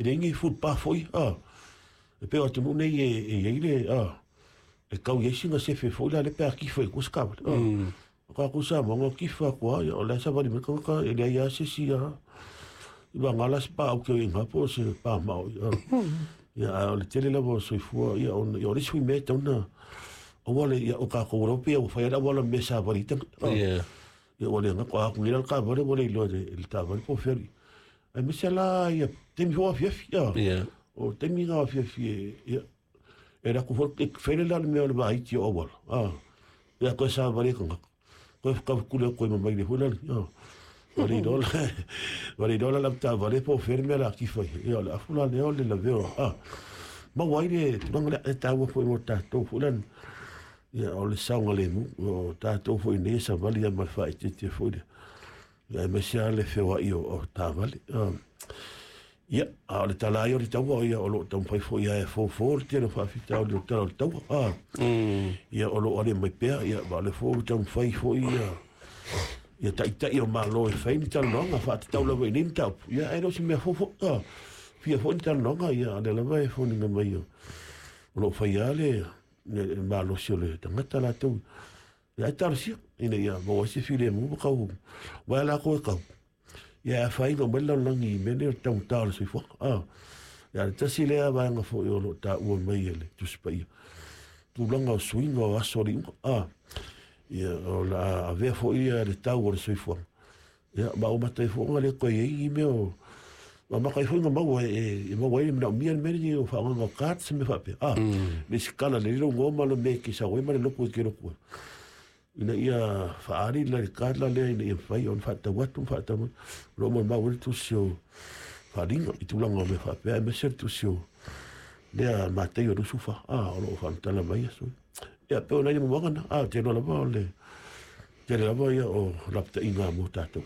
E leai ni footpath foi, e pei o atunuu nei e i ai le, e tau i ai sina sefe foi la lea pe a tifa i tua se taavale. O tatou Samoa na o tifa atu lava, ia o la e savali mai le tagata e leai lava se isi lava. I vagana la se paau ke o i ina po o se pamao. Ia, ae o le tele lava o soifua, ia, ona, ia o le isi foi mea e tatau ona aua le, ia, o tatou lava pei ua fai lava le auala mea e savali ai tagata. Ia ua le gata, a atu nei la le taavale ua le iloa e le taavale po o fea alii. Aemaise la ia taimi foi o afiafi, o taimi na o afiafi e, ia, e alu atu foi, e fele la le mea o le vaiti o auala, ia toe savali ai tagata. Toe tafutuli atu ai ma maile foi lale, ua le iloa la, ua le iloa la le avetaavale po o fea le mea o le a tifa i ai. Ia o le afu la lea o le lavea, maua ai le tulaga lea e taua foi mo tatou foi lea. Ia o le saogalemu, o tatou foi nei e savali lava ma le faaeteete foi lea. Ia aemaise lava le feoai o taavale. Ia, a o le tala ai o le taua, ia o lo o taumafai foi lava e fofo le tele o faafitauli o le tala o le taua. Ia o lo o ale mai pea, ia ma o lea foi ua taumafai foi ia taitai o Malo e fai ni talanoaga faatatau lava i nei mataupu. Ia ae le o se mea fou foi, fia foi ni talanoaga, ia a o lea lava e foliga mai o lo o fai lava le malosi o le tagata latou. Ia ae talosia ina ia maua ai se filemu ma tau aua latou e tau. Ia e afaina uma ai le lalolagi i mea nei o le taugata o le soifuaga. Ia le tasi lea vaega foi o lo o taua mai e le Tusi Paia, tulaga o suiga o aso o le iuga. Ia o le a avea foi ia le tau o le soifuaga. Ia ma ua mata ai foi ona le toe i ai ni mea o ma mata ai foi ona maua e maua ai le manaomia le mea lenei o faaaogaina o cards ma mea faapea. Le isi kala lelei lou igoa ma le mea e te sau ai ma le lotu e te lotu ai. Ina ia faaali le card la lea ina ia mafai ona faatau atu ma faatau mai. O lo o molimau ai le tusi o faaaliga i tulaga o mea faapea aemaise le tusi o lea Mataio 24, o lo o faamatala mai aso ia. Ia pei o nai momoga na, ou te iloa lava o le tele lava ia o lapataiga mo tatou.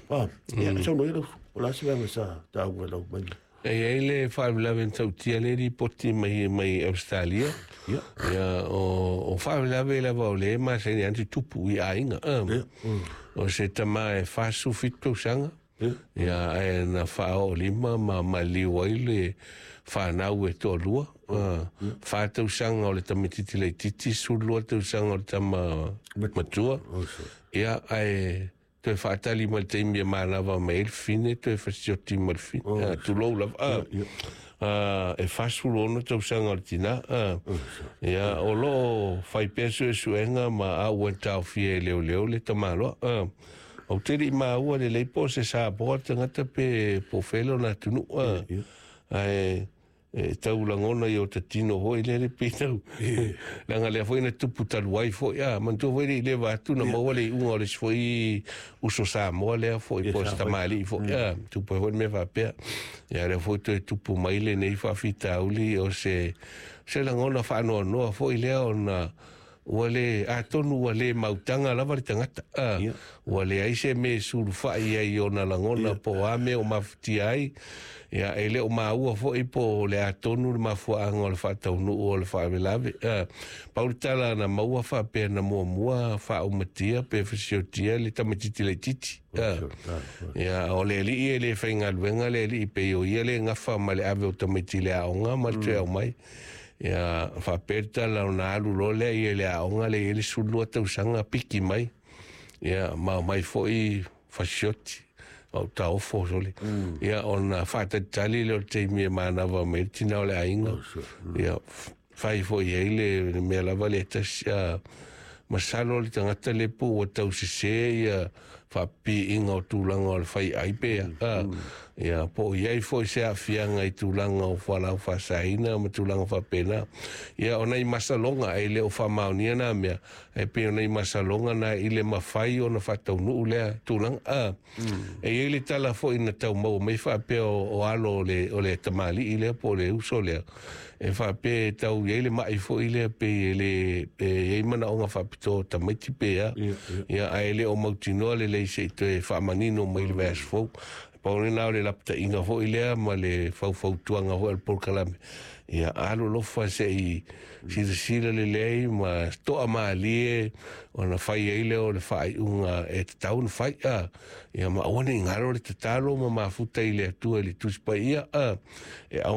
Ia, saunoa ia lau, o le a se vaega sa taua i lau mai? E i ai le faalavelave na tautia lea e lipoti mai mai Ausetalia. Ia. Ia, o faalavelave lava o lea e masani lava ona tutupu i aiga. Ia. O se tama e 47 tausaga. Ia. Ia, ae na faaoolima ma maliu ai le fanau e toalua. 4 tausaga o le tamaitiiti laitiiti, 12 tausaga o le tama matua. Ia, ae toe faatali mai le taimi e manava mai ai le fine, toe fasioti ma le fine, tulou lava. E 46 tausaga o le tina. Ia, o lo o fai pea suesuega ma a ua taofia e leoleo le tamaloa. Ou te le i maua lelei po o se Samoa le tagata pe po o fea lona atunuu. Ae e tau lagona i o ta tino foi lea le pei tau leaga lea foi na tupu talu ai foi a manatua foi le i leva atu na maua le iuga o le isi foi uso Samoa lea foi po o se tamalii foi a tupu ai foi le mea faapea. Ia lea foi toe tupu mai lenei faafitauli o se lagona faanoanoa foi lea ona ua le, atonu ua le mautaga lava le tagata, ua leai se mea e sulufai ai i ona lagona po o a mea o mafatia ai. Ia, e le o maua foi po o le a tonu le mafuaaga o le faataunuu o le faalavelave. Pau le tala na maua faapea na muamua faaumatia pe fasiotia le tamaitiiti laitiiti. Ia, o le alii e le faigaluega le alii pei o ia le gafa ma le ave o tamaiti i le aoga ma le toe aumai. Ia, faapea le tala ona alu loa lea ia i le aoga lea i ai le 12 tausaga piki mai. Ia, ma omai foi fasioti, au taofo sole. Ia, ona faatalitali lea o le taimi e manava mai ai le tina o le aiga. Ia, fai foi i ai le mea lava lea tasi. Masalo le tagata le po ua tau sese ia faapipiiga o tulaga o le fai ai pe ia po o i ai foi se aafiaga i tulaga o fualaau faasaina ma tulaga faapena. Ia o nai masaloga e le o faamaonia nā mea, e pei o nai masaloga na i le mafai ona faataunuu lea tulaga. E i ai le tala foi na tau maua mai faapea o alo o le tamalii lea po o le uso lea, e faapea e tau i ai le mai foi lea pei e le e i ai manaoga faapitoa o tamaiti pe a. Ia, ae le o mautinoa lelei se i toe faamanino mai i le vaiaso fou. Pau lena o le lapataiga foi lea ma le faufautuaga foi a le polokalame. Ia alolofa se i silasila lelei ma toa malie ona fai ai lea o le faaiuga e tatau ona fai. Ia ma aua ne i galo le tatalo ma mafuta i le Atua i le Tusi Paia, e au